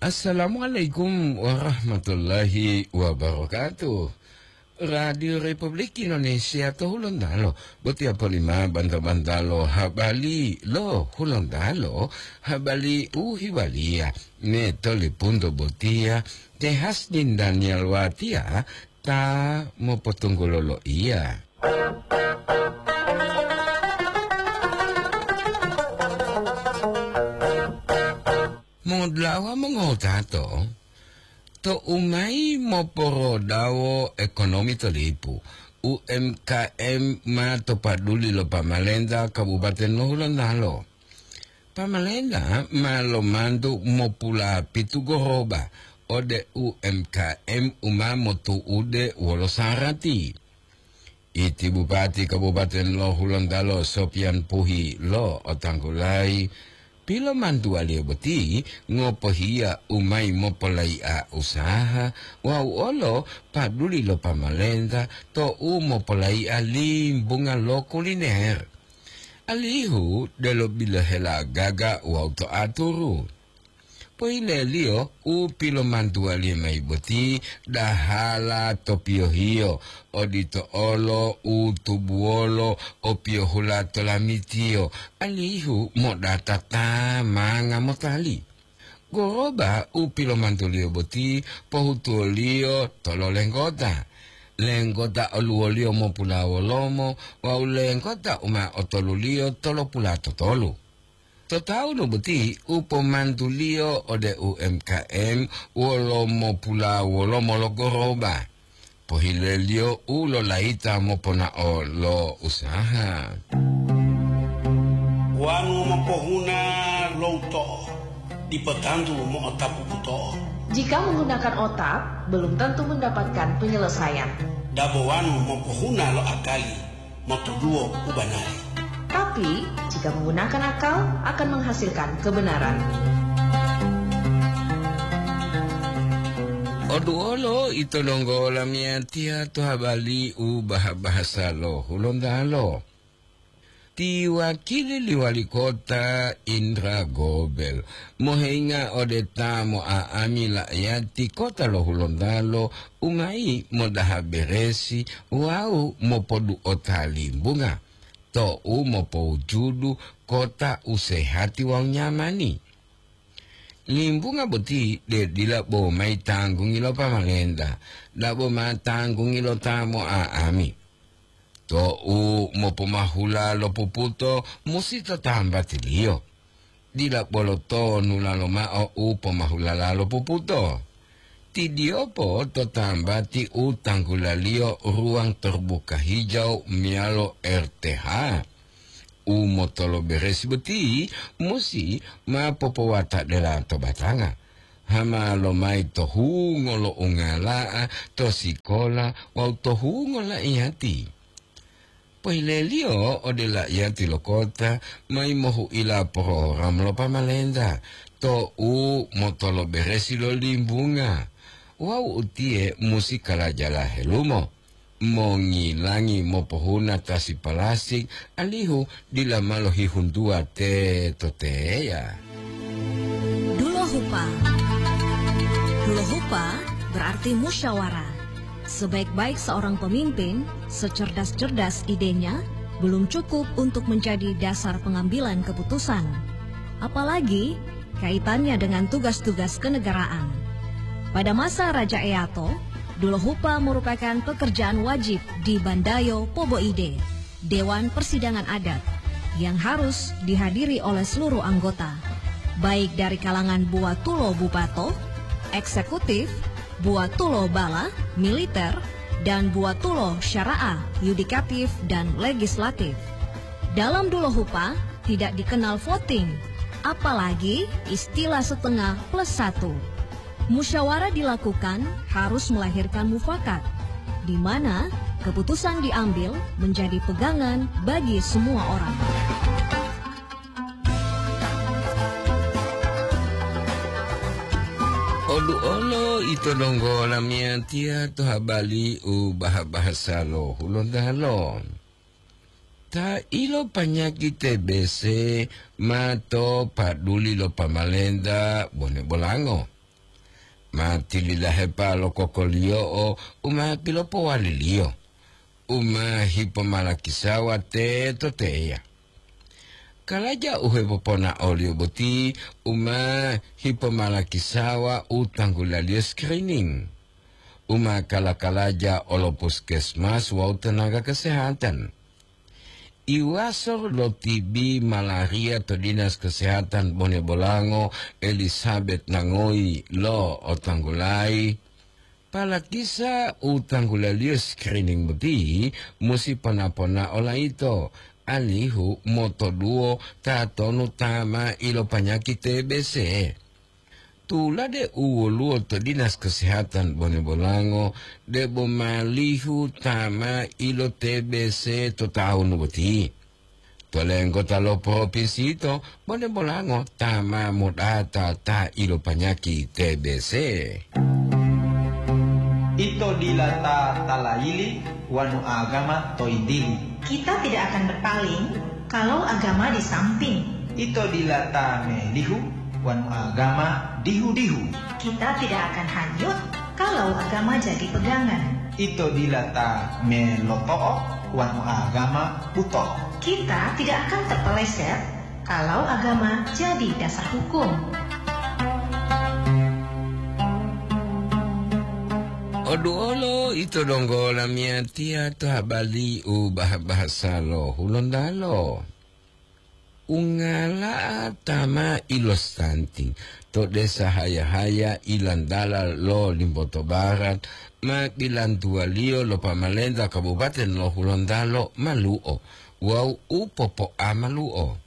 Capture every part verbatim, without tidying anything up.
Assalamualaikum warahmatullahi wabarakatuh. Radio Republik Indonesia to Hulontalo, botiya polima banta-bantalo habari lo Hulontalo, habari u hiwaliya me to lipunto botiya, te Hasdin Daniel Watia ta mopotunggulo loiya. Modlawa mongotato, to umayi moporodawo ekonomi to lipu, U M K M ma to paduli lo pamalenta Kabupaten lo Hulontalo. Pamalenta ma lomantu mopulapitu goroba ode U M K M u ma motu'ude wolo sarati. Iti Bupati Kabupaten lo Hulontalo Sopian Puhi lo otanggulayi, pilomantuwaliyo boti ngopohiya u mayi mopolai'a usaha wawu olo paduli lo pamalenta to u mopolai'a limbunga lo kuliner, alihu delo bilohela gaga wawu to aturu. Pohileliyo u pilomantuwaliyo mayi boti dahala to piyohiyo, odito olo u tubuwolo o piyohula to lamitiyo, alihu modata ta manga motali. Goroba u pilomantuliyo boti pohutuwoliyo tolo lenggota. Lenggota oluwoliyo mopulawolomo wawu lenggota u ma otoluliyo tolopula totolu. To tawunu boti u pomantuliyo ode U M K M wolo mopulawolomo lo goroba, pohileliyo u lolayita moponao lo usaha. Wanu mopohuna lo uto'o, dipo tantu mo'otapu buto'o. Jika menggunakan otak, belum tentu mendapatkan penyelesaian. Dabo wanu mopohuna lo akali, motuduwo u banari. Tapi, jika menggunakan akal, akan menghasilkan kebenaran. Oduwolo ito donggo lamiyatiya to habari u baha-bahasa lo Hulontalo. Ti wakili li wali kota Indra Gobel moheinga ode ta mo'a'ami la'ayati kota lo Hulontalo u mayi modaha beresi wawu mopodu'ota limbunga to u mopowujudu kota u sehati wawu nyamani. Limbunga boti de dila bo mayi tanggungi lo pamalenta, dabo ma tanggungi lo ta mo'a'ami. To u mopomahula lo puputo musi to tambatiliyo. Dila bolo tonulalo mao u pomahulala lo puputo. Tidiyopo to tambati u tanggulaliyo ruwang terbuka hijau meyalo R T H. U motoloberesi boti musi ma popowatadela to batanga. Hama lomayi to hungo lo ungala'a, to sikola wawu to hungo la'iyati. Pohileliyo ode la'iyati lo kota mayi mohu'ila porogram lo pamalenta to u motoloberesi lo limbunga. Wawu utiye musi kalajala helumo, mongilangi mopohuna tasi palastik alihu dila ma lohihuntuwa teto teya. Dulohupa. Dulohupa berarti musyawarah. Sebaik-baik seorang pemimpin, secerdas-cerdas idenya, belum cukup untuk menjadi dasar pengambilan keputusan. Apalagi kaitannya dengan tugas-tugas kenegaraan. Pada masa Raja Eato, Dulohupa merupakan pekerjaan wajib di Bandayo Poboide, Dewan Persidangan Adat, yang harus dihadiri oleh seluruh anggota, baik dari kalangan buwatulo bubato, eksekutif, buwatulo bala, militer, dan buwatulo syara'ah, yudikatif, dan legislatif. Dalam Dulohupa tidak dikenal voting, apalagi istilah setengah plus satu. Musyawarah dilakukan harus melahirkan mufakat, di mana keputusan diambil menjadi pegangan bagi semua orang. Olu'olo ito donggo lamiyatiya to habari u baha-bahasa lo Hulontalo. Ta ilo panyaki T B C ma to paduli lo pamalenta bone bolango. ma tililahepa lo kokoliyo'o u ma pilopowaliliyo, u ma hipomalakisawa teto teya. Kalaja u hepoponaoliyo boti u ma hipomalakisawa u tanggulaliyo screening, u ma kala-kalaja olo puskesmas wawu tenaga kesehatan. Iwaso lo T B malaria to Dinas Kesehatan Bone Bolango, Elizabeth Nangoyi lo otanggulayi, palakisa u tanggulaliyo screening boti musi pona-ponao layito, alihu motoduwo tatonu ta ma ilopanyaki T B C. Tulade u woluwo to Dinas Kesehatan Bone Bolango, debo malihu ta ma ilo T B C to tahun boti. To lenggota lo propinsi yito, Bone Bolango ta ma modata ta ilopanyaki T B C. Ito dila ta talayili wanu agama to yintili. Kita tidak akan berpaling kalau agama di samping. Ito dila ta melihu wanu agama dihu-dihu. Kita tidak akan hanyut kalau agama jadi pegangan. Ito dila ta meloto'o wanu agama buto'o. Kita tidak akan terpeleset kalau agama jadi dasar hukum. Oduolo ito donggo lamiyatiya to habali u bah-bahasa lo Hulontalo. Ungala'a ta ma ilostanting to desa Haya-Haya ilantala lo Limboto Barat ma bilantuwaliyo lo pamalenta Kabupaten lo Hulontalo malu'o wawu u popo'a malu'o.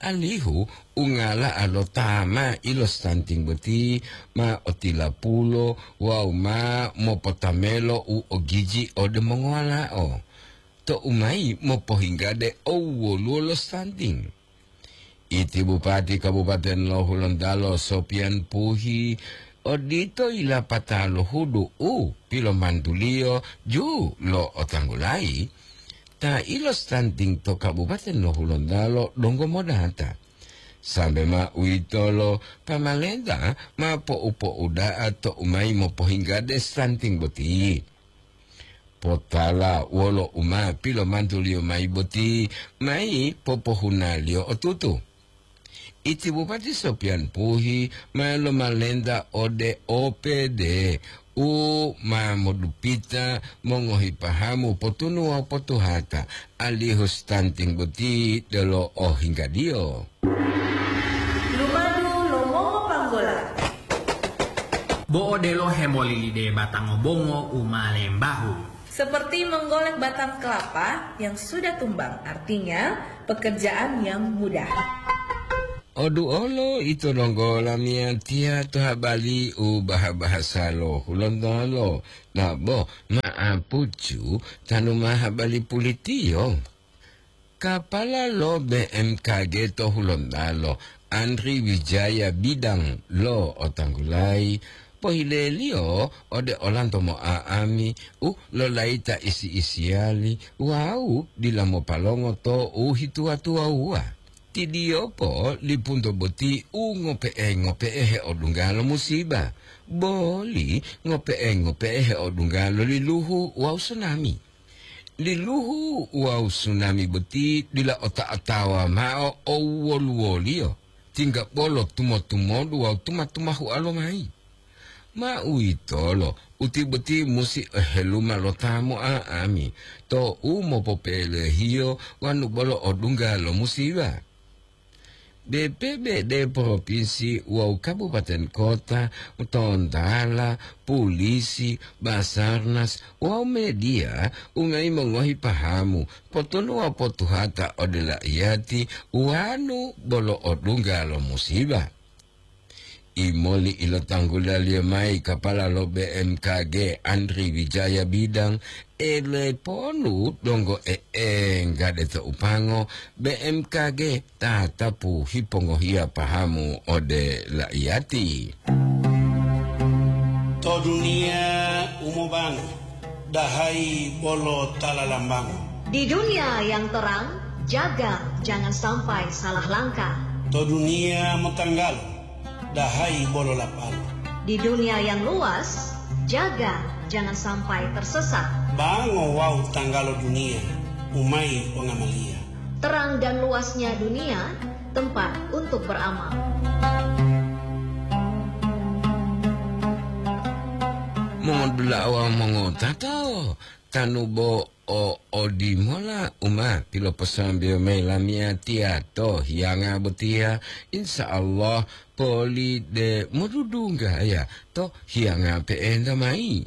Alihu ungala'a lo ta ma ilostanting boti ma otilapulo wawu ma mopotamelo u ogiji ode mongowala'o. To umayi mopohinggade owoluwo lo stunting. Iti Bupati Kabupaten lo Hulontalo Sopian Puhi odito yilapata lo hudu u pilomantuliyo ju lo otanggulayi, ta ilo stunting to Kabupaten lo Hulontalo donggo modata. Sambe ma uwitolo pamalenta ma po'u-po'uda'a to umayi mopohinggade stunting boti. Potala wolo u ma pilomantuliyo mayi boti, mayi popohunaliyo otutu. Iti Bupati Sopian Puhi ma lomalenta ode O P D u ma modupita mongohi pahamu potunu wawu potuhata, alihu stunting boti delo ohinggadiyo. Lumadu lo mongopanggola. Bo odelo hemolilide batang bongo u ma lembahu. Seperti menggolek batang kelapa yang sudah tumbang, artinya pekerjaan yang mudah. Odu olo ito donggo lamiyatiya to habali u baha-bahasa lo Hulontalo, nabo ma'apucu tanu ma habali pulitiyo. Kapala lo B M K G to Hulontalo, Andri Wijaya Bidang lo otanggulayi, pohileliyo ode olanto mo'a'ami u lolayita isi-isiyali wawu dila mopalongo to u hituwa-tuwawuwa. Tidiyopo lipunto boti u ngope'e-ngope'e heodungga lo musiba, boli ngope'e-ngope'e heodungga lo liluhu wawu sunami. Liluhu wawu sunami boti dila ota-otawa mao owoluwoliyo, tingga bolo tumo-tumodu wawu tuma-tumahu'a lomayi. Ma uwitolo, uti boti musi oheluma lo ta mo'a'ami to u mopopelehiyo wanu bolo odungga lo musiba. B P B D provinsi wawu kabupaten kota, tontala, pulisi, Basarnas wawu media ungayi mongohi pahamu, potunu wawu potuhata ode la'iyati wanu bolo odungga lo musiba. Imoli ilotanggulaliyo mayi kapala lo B M K G Andri Wijaya Bidang, eleponu donggo e'engga de to upango B M K G tatapu hipongohiya pahamu ode la'iyati. To duniya u mobango, dahayi bolo ta lalambango. Di dunia yang terang, jaga jangan sampai salah langkah. To duniya motanggalo, dahayi bolo lapalo. Di dunia yang luas, jaga jangan sampai tersesat. Bango wawu tanggalo dunia, umai ongamaliya. Terang dan luasnya dunia, tempat untuk beramal. Mongodula'a wawu mongotato, tanu bo o odimola u ma piloposambeyo mayi lamiyatiya to hiyanga botiya, insya Allah poli de modudunggaya to hiyanga pe'enta mayi.